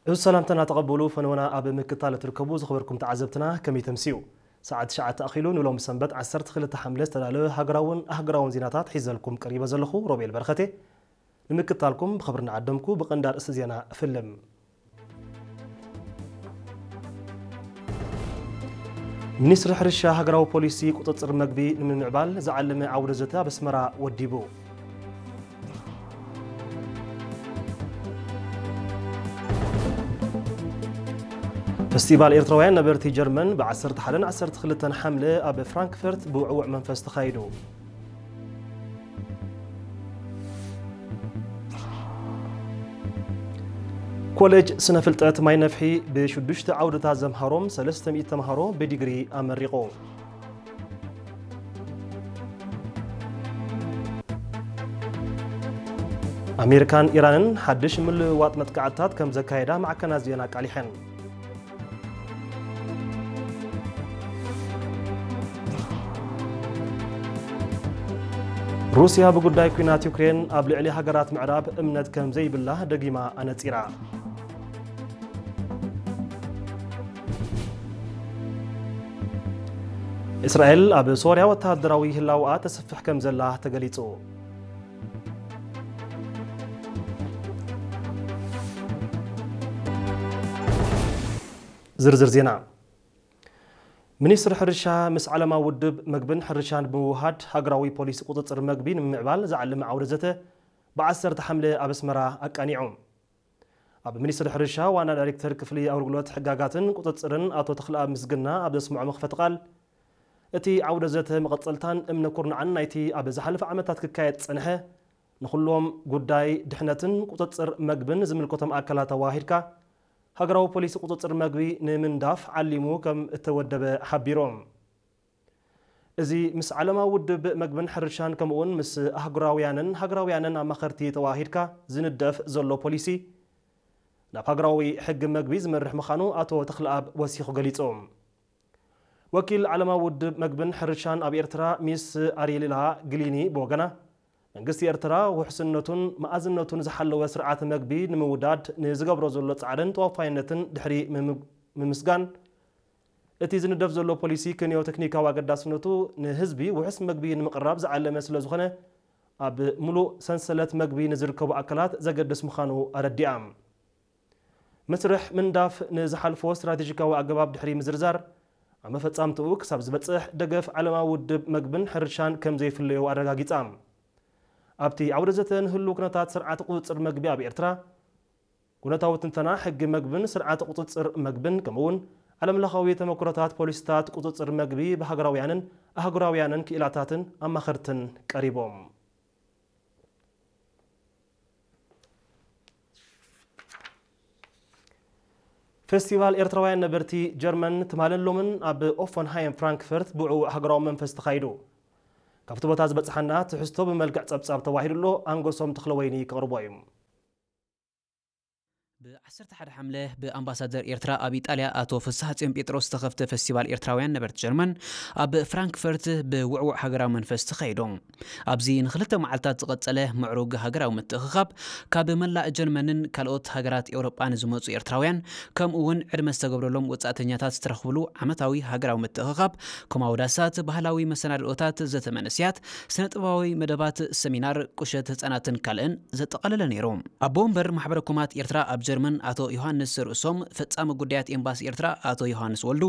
እዚ ሰላምታና ተቐበሉ። ፈነወና ኣብ ምክታል እትርከቡ ዝኸበርኩም ተዓዘብትና፣ ከመይ ተምስዩ? ሰዓት ትሽዓተ ኣኺሉ፣ ንሎም ሰንበት ዓሰርተ ክልተ ሓምለ ዝተዳለወ ሃገራውን ኣህጉራውን ዜናታት ሒዘልኩም ቀሪበ ዘለኹ ሮቤል በረኸቴ። ንምክታልኩም ብኽብሪ እናዓደምኩ፣ ብቐንዲ ኣርእስቲ ዜና እፍልም። ሚኒስትሪ ሕርሻ ሃገራዊ ፖሊሲ ቁጽጽር መግቢ ንምምዕባል ዝዓለመ ዓውደ ዘተ ኣብ ኣስመራ ወዲቡ። ፈስቲቫል ኤርትራውያን ነበርቲ ጀርመን ብ ዓሰርተ ሓደን ዓሰርተ ክልተን ሓምለ ኣብ ፍራንክፈርት ብውዕዉዕ መንፈስ ተኻይዱ። ኮሌጅ ስነ ፍልጠት ማይ ነፍሒ ብሽዱሽተ ዓውድታት ዘምሃሮም ሰለስተ ሚእቲ ተምሃሮ ብዲግሪ ኣመሪቑ። ኣሜሪካን ኢራንን ሓድሽ ምልውዋጥ መጥቃዕትታት ከም ዘካየዳ ማዕከናት ዜና ኣቃሊሐን። ሩስያ ብጉዳይ ኲናት ዩክሬን ኣብ ልዕሊ ሃገራት ምዕራብ እምነት ከም ዘይብላ ደጊማ ኣነጺራ። እስራኤል ኣብ ሶርያ ወተሃደራዊ ህላወኣ ተስፍሕ ከም ዘላ ተገሊጹ። ዝርዝር ዜና። ሚኒስትሪ ሕርሻ ምስ ዓለማዊ ውድብ መግብን ሕርሻን ብምውሃድ ሃገራዊ ፖሊሲ ቁጽጽር መግቢ ንምምዕባል ዝዓለመ ዓውደ ዘተ ብ ዓሰርተ ሓምለ ኣብ ኣስመራ ኣቃኒዑ። ኣብ ሚኒስትሪ ሕርሻ ዋና ዳይሬክተር ክፍሊ ኣገልግሎት ሕጋጋትን ቁጽጽርን ኣቶ ተኽለኣብ ምስግና ኣብ ዘስምዖ መኽፈቲ ቃል፣ እቲ ዓውደ ዘተ መቐጸልታን እምነ ኩርናዕን ናይቲ ኣብ ዝሓለፈ ዓመታት ክካየድ ዝጸንሐ ንኹሎም ጉዳይ ድሕነትን ቁጽጽር መግብን ዝምልከቶም ኣካላት ኣዋሂድካ ሃገራዊ ፖሊሲ ቁጽጽር መግቢ ንምንዳፍ ዓሊሙ ከም እተወደበ ሓቢሮም። እዚ ምስ ዓለማዊ ውድብ መግብን ሕርሻን ከምኡውን ምስ ኣህጉራውያንን ሃገራውያንን ኣማኸርቲ ተዋሂድካ ዝንደፍ ዘሎ ፖሊሲ ናብ ሃገራዊ ሕጊ መግቢ ዝመርሕ ምዃኑ ኣቶ ተኽለኣብ ወሲኹ ገሊጹ። ወኪል ዓለማዊ ውድብ መግብን ሕርሻን ኣብ ኤርትራ ሚስ ኣሪላ ግሊኒ ብወገና፣ መንግስቲ ኤርትራ ውሕስነቱን መኣዝነቱን ዝሓለወ ስርዓተ መግቢ ንምውዳድ ንዝገብሮ ዘሎ ጻዕርን ተወፋይነትን ድሕሪ ምም-፣ ምምስጋን፣ እቲ ዝንደፍ ዘሎ ፖሊሲ ክንዮ ቴክኒካዊ ኣገዳስነቱ ንህዝቢ ውሑስ መግቢ ንምቕራብ ዝዓለመ ስለ ዝኾነ፣ ኣብ ምሉእ ሰንሰለት መግቢ ንዝርከቡ ኣካላት ዘገድስ ምዃኑ ኣረዲኣ። መስርሕ ምንዳፍ ንዝሓልፎ ስትራቴጂካዊ ኣገባብ ድሕሪ ምዝርዛር፣ ኣብ መፈጻምትኡ ክሳብ ዝበጽሕ ደገፍ ዓለማዊ ውድብ መግብን ሕርሻን ከም ዘይፍለዮ ኣረጋጊጻ። ኣብቲ ዓውደ ዘተ ንህሉ ኩነታት ስርዓተ ቁጽጽር መግቢ ኣብ ኤርትራ፣ ኩነታዊ ትንተና ሕጊ መግብን ስርዓተ ቁጽጽር መግብን ከምኡውን ዓለምለኻዊ ተመክሮታት ፖሊሲታት ቁጽጽር መግቢ ብሃገራውያንን ኣህጉራውያንን ክኢላታትን ኣማኸርትን ቀሪቦም። ፌስቲቫል ኤርትራውያን ነበርቲ ጀርመን ትማልን ሎምን ኣብ ኦፈንሃይም ፍራንክፈርት ብውዕዉዕ ሃገራዊ መንፈስ ተኻይዱ። ካብቲ ቦታ ዝበጽሓና ትሕዝቶ ብመልክዕ ጸብጻብ ተዋሂዱ ኣሎ፣ ኣንጎሶም ተኽለወይኒ ከቕርቦ እዩ። ብ ዓሰርተ ሓደ ሓምለ ብኣምባሳደር ኤርትራ ኣብ ኢጣልያ ኣቶ ፍስሓጽዮን ጴጥሮስ ዝተኸፍተ ፌስቲቫል ኤርትራውያን ነበርቲ ጀርመን ኣብ ፍራንክፈርት ብውዕዉዕ ሃገራዊ መንፈስ ተኻይዱ። ኣብዚ ንኽልተ መዓልታት ዝቐጸለ ምዕሩግ ሃገራዊ ምትእኽኻብ፣ ካብ መላእ ጀርመንን ካልኦት ሃገራት ኤውሮጳን ዝመጹ ኤርትራውያን፣ ከምኡ እውን ዕድመ ዝተገብረሎም ወጻእተኛታት ዝተረኽብሉ ዓመታዊ ሃገራዊ ምትእኽኻብ፣ ኮማዊ ዳሳት፣ ባህላዊ መሰናድኦታት፣ ዘተ መንእሰያት፣ ስነ-ጥበባዊ መደባት፣ ሰሚናር፣ ቁሸት ህጻናትን ካልእን ዘጠቓለለ ነይሩ። ኣቦ ወንበር ማሕበረ ኮማት ኤርትራ ኣብ ጀርመን ኣቶ ዮሃንስ ርእሶም፣ ፈጻሚ ጉዳያት ኤምባሲ ኤርትራ ኣቶ ዮሃንስ ወልዱ፣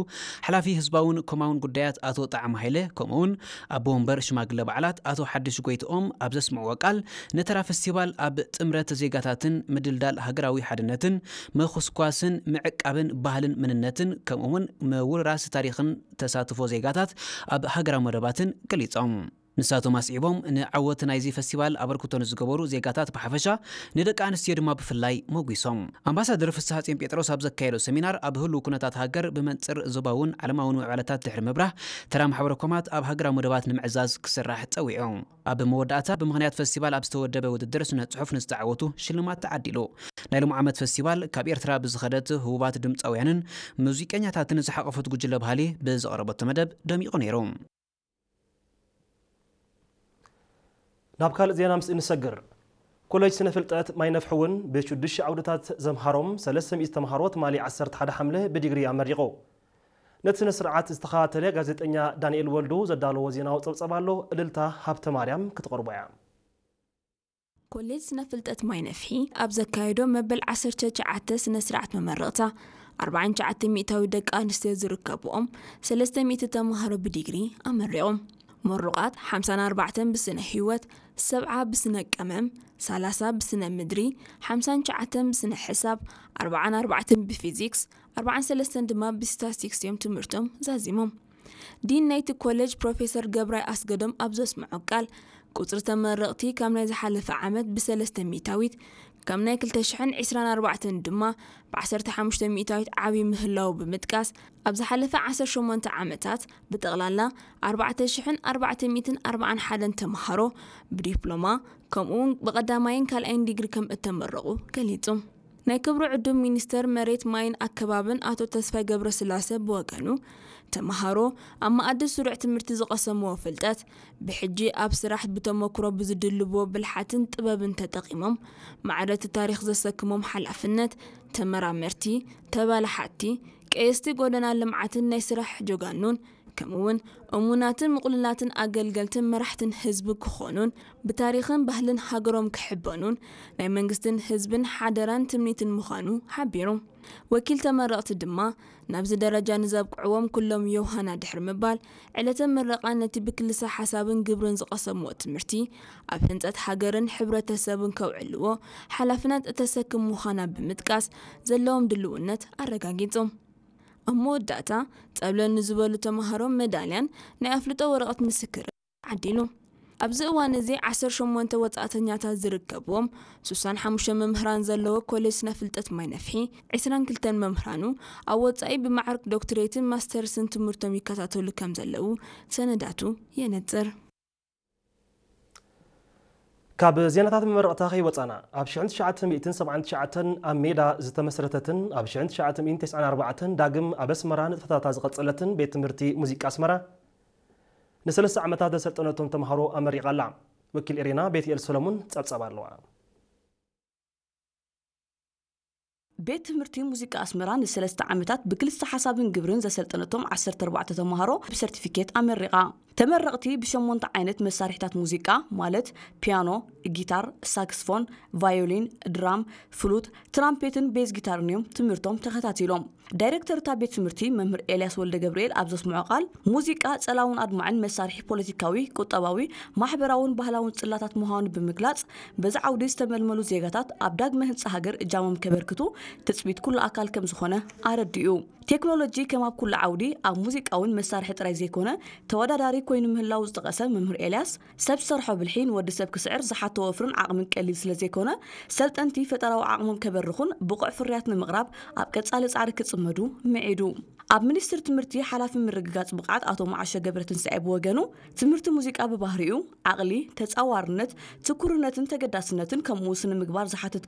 ሓላፊ ህዝባውን ኮማውን ጉዳያት ኣቶ ጣዕመ ሃይለ፣ ከምኡውን ኣቦ ወንበር ሽማግለ በዓላት ኣቶ ሓድሽ ጎይትኦም ኣብ ዘስምዕዎ ቃል፣ ንተራ ፈስቲቫል ኣብ ጥምረት ዜጋታትን ምድልዳል ሃገራዊ ሓድነትን፣ ምኹስኳስን ምዕቃብን ባህልን መንነትን፣ ከምኡውን ምውርራስ ታሪኽን ተሳትፎ ዜጋታት ኣብ ሃገራዊ መደባትን ገሊጾም። ንሳቶም ኣስዒቦም፣ ንዓወት ናይዚ ፈስቲቫል ኣበርክቶ ንዝገበሩ ዜጋታት ብሓፈሻ፣ ንደቂ ኣንስትዮ ድማ ብፍላይ ሞጒሶም። ኣምባሳደር ፍስሓጽዮን ጴጥሮስ ኣብ ዘካየዶ ሰሚናር፣ ኣብ ህሉው ኩነታት ሃገር ብመንጽር ዞባውን ዓለማውን ምዕባለታት ድሕሪ ምብራህ፣ ተራ ማሕበረ ኮማት ኣብ ሃገራዊ መደባት ንምዕዛዝ ክስራሕ ጸዊዑ። ኣብ መወዳእታ፣ ብምኽንያት ፈስቲቫል ኣብ ዝተወደበ ውድድር ስነ ጽሑፍ ንዝተዓወቱ ሽልማት ተዓዲሉ። ናይ ሎም ዓመት ፈስቲቫል፣ ካብ ኤርትራ ብዝኸደት ህቡባት ድምጻውያንን ሙዚቀኛታትን ዝሓቖፈት ጉጅለ ባህሊ ብዘቕረበቶ መደብ ደሚቑ ነይሩ። ናብ ካልእ ዜና ምስ እንሰግር፣ ኮሌጅ ስነ ፍልጠት ማይነፍሒ እውን ብሽዱሽተ ዓውድታት ዘምሃሮም ሰለስተ ሚእቲ ተምሃሮ ትማሊ ዓሰርተ ሓደ ሓምለ ብዲግሪ ኣመሪቑ። ነቲ ስነ ስርዓት ዝተኸታተለ ጋዜጠኛ ዳንኤል ወልዱ ዘዳለዎ ዜናዊ ጸብጸብ ኣሎ። እልልታ ሃብተ ማርያም ክትቐርቦ እያ። ኮሌጅ ስነ ፍልጠት ማይነፍሒ ኣብ ዘካየዶ መበል ዓሰርተ ትሽዓተ ስነ ስርዓት መመረቕታ ኣርባዓን ትሽዓተ ሚእታዊ ደቂ ኣንስትዮ ዝርከብኦም ሰለስተ ሚእቲ ተምሃሮ ብዲግሪ ኣመሪቖም። ምሩቓት ሓምሳን ኣርባዕተን ብስነ ህይወት፣ ሰብዓ ብስነ ቀመም፣ ሰላሳ ብስነ ምድሪ፣ ሓምሳን ትሽዓተን ብስነ ሕሳብ፣ ኣርባዓን ኣርባዕተን ብፊዚክስ፣ ኣርባዓን ሰለስተን ድማ ብስታስቲክስ እዮም ትምህርቶም ዛዚሞም። ዲን ናይቲ ኮሌጅ ፕሮፌሰር ገብራይ ኣስገዶም ኣብ ዘስምዖ ቃል፣ ቁጽሪ ተመረቕቲ ካብ ናይ ዝሓለፈ ዓመት ብሰለስተ ሚእታዊት፣ ካብ ናይ ክልተ ሽሕን ዕስራን ኣርባዕተን ድማ ብዓሰርተ ሓሙሽተ ሚእታዊት ዓብዪ ምህላዉ ብምጥቃስ፣ ኣብ ዝሓለፈ ዓሰርተ ሸሞንተ ዓመታት ብጠቕላላ ኣርባዕተ ሽሕን ኣርባዕተ ሚእትን ኣርባዓን ሓደን ተምሃሮ ብዲፕሎማ፣ ከምኡውን ብቐዳማይን ካልኣይን ዲግሪ ከም እተመረቑ ገሊጹ። ናይ ክብሪ ዕዱም ሚኒስተር መሬት፣ ማይን ኣከባብን ኣቶ ተስፋይ ገብረስላሰ ብወገኑ፣ ተምሃሮ ኣብ መኣዲ ስሩዕ ትምህርቲ ዝቐሰምዎ ፍልጠት፣ ብሕጂ ኣብ ስራሕ ብተመክሮ ብዝድልብዎ ብልሓትን ጥበብን ተጠቒሞም፣ ማዕረ እቲ ታሪኽ ዘሰክሞም ሓላፍነት፣ ተመራመርቲ፣ ተባላሓትቲ፣ ቀየስቲ ጎደና ልምዓትን ናይ ስራሕ ጀጋኑን፣ ከምኡውን እሙናትን ምቕሉላትን ኣገልገልትን መራሕትን ህዝቢ ክኾኑን፣ ብታሪኽን ባህልን ሃገሮም ክሕበኑን ናይ መንግስትን ህዝብን ሓደራን ትምኒትን ምዃኑ ሓቢሩ። ወኪል ተመረቕቲ ድማ፣ ናብዚ ደረጃ ንዘብቅዕዎም ኩሎም ዮሃና ድሕሪ ምባል፣ ዕለተ ምረቓ ነቲ ብክልሰ ሓሳብን ግብርን ዝቐሰምዎ ትምህርቲ ኣብ ህንጸት ሃገርን ሕብረተሰብን ከውዕልዎ ሓላፍነት እተሰክም ምዃና ብምጥቃስ፣ ዘለዎም ድልውነት ኣረጋጊጹ። ኣብ መወዳእታ፣ ጸብለል ንዝበሉ ተምሃሮ መዳልያን ናይ ኣፍልጦ ወረቐት ምስክር ዓዲሉ። ኣብዚ እዋን እዚ ዓሰርተ ሸሞንተ ወጻእተኛታት ዝርከብዎም፣ ስሳን ሓሙሽተ መምህራን ዘለዎ ኮሌጅ ስነ ፍልጠት ማይነፍሒ፣ ዕስራን ክልተን መምህራኑ ኣብ ወጻኢ ብማዕርግ ዶክትሬትን ማስተርስን ትምህርቶም ይከታተሉ ከም ዘለዉ ሰነዳቱ የነጽር። ካብ ዜናታት መመረቕታ ከይወጻና፣ ኣብ ሽሕን ትሽዓተ ሚእትን ሰብዓን ትሽዓተን ኣብ ሜዳ ዝተመስረተትን ኣብ ሽሕን ትሽዓተ ሚእትን ተስዓን ኣርባዕተን ዳግም ኣብ ኣስመራ ንጥፈታታ ዝቐጸለትን ቤት ትምህርቲ ሙዚቃ ኣስመራ ንሰለስተ ዓመታት ዘሰልጠነቶም ተምሃሮ ኣመሪቓ ኣላ። ወኪል ኤሬና ቤትኤል ሰሎሙን ጸብጸብ ኣለዋ። ቤት ትምህርቲ ሙዚቃ ኣስመራ ንሰለስተ ዓመታት ብክልስተ ሓሳብን ግብርን ዘሰልጠነቶም ዓሰርተ ኣርባዕተ ተምሃሮ ብሰርቲፊኬት ኣመሪቓ። ተመረቕቲ ብሸሞንተ ዓይነት መሳርሒታት ሙዚቃ፣ ማለት ፒያኖ፣ ጊታር፣ ሳክስፎን፣ ቫዮሊን፣ ድራም፣ ፍሉት፣ ትራምፔትን ቤዝ ጊታርን እዮም ትምህርቶም ተኸታቲሎም። ዳይሬክተር እታ ቤት ትምህርቲ መምህር ኤልያስ ወልደ ገብርኤል ኣብ ዘስምዖ ቃል፣ ሙዚቃ ጸላውን ኣድማዕን መሳርሒ ፖለቲካዊ፣ ቁጠባዊ፣ ማሕበራውን ባህላውን ጽላታት ምዃኑ ብምግላጽ፣ በዚ ዓውዲ ዝተመልመሉ ዜጋታት ኣብ ዳግመ ህንጻ ሃገር እጃሞም ከበርክቱ ትጽቢት ኩሉ ኣካል ከም ዝኾነ ኣረዲኡ። ቴክኖሎጂ ከም ኣብ ኩሉ ዓውዲ ኣብ ሙዚቃ እውን መሳርሒ ጥራይ ዘይኮነ ተወዳዳሪ ኮይኑ ምህላው ዝጠቐሰ መምህር ኤልያስ፣ ሰብ ዝሰርሖ ብልሒ ንወዲ ሰብ ክስዕር ዝሓቶ ወፍርን ዓቕምን ቀሊል ስለ ዘይኮነ፣ ሰልጠንቲ ፈጠራዊ ዓቕሞም ከበርኹን ብቑዕ ፍርያት ንምቕራብ ኣብ ቀጻሊ ጻዕሪ ክጽመዱ ምዒዱ። ኣብ ሚኒስትሪ ትምህርቲ ሓላፊ ምርግጋጽ ብቕዓት ኣቶ መዓሾ ገብረትንሳኤ ብወገኑ፣ ትምህርቲ ሙዚቃ ብባህሪኡ ዓቕሊ፣ ተጻዋርነት፣ ትኩርነትን ተገዳስነትን ከምኡ ስነ ምግባር ዝሓትት ከም